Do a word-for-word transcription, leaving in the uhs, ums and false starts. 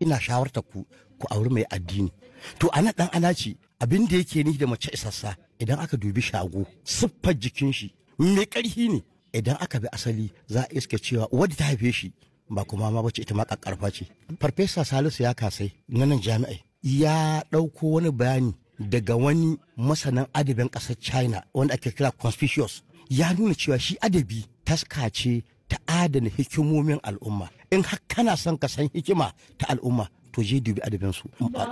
Ina shawarta ku ku auri mai addini. To ana dan anaci abin da yake ni da mace isassa, idan aka dubi shago, siffar jikin shi mai karfi ne. Idan aka bi asali, za a iske cewa wadda ta haife shi ba kuma ma bace, ita ma kakkarfa ce. Farfesa Salisu ya kasai na nan jami'ai ya ɗauko wani bayani daga wani masanin adabin ƙasar China wanda ake kira Confucius. Ya nuna cewa shi adabi taska ce ta adana hikimomin al'umma. In har kana son ka san hikima ta al'umma, to je dubi adabinsu.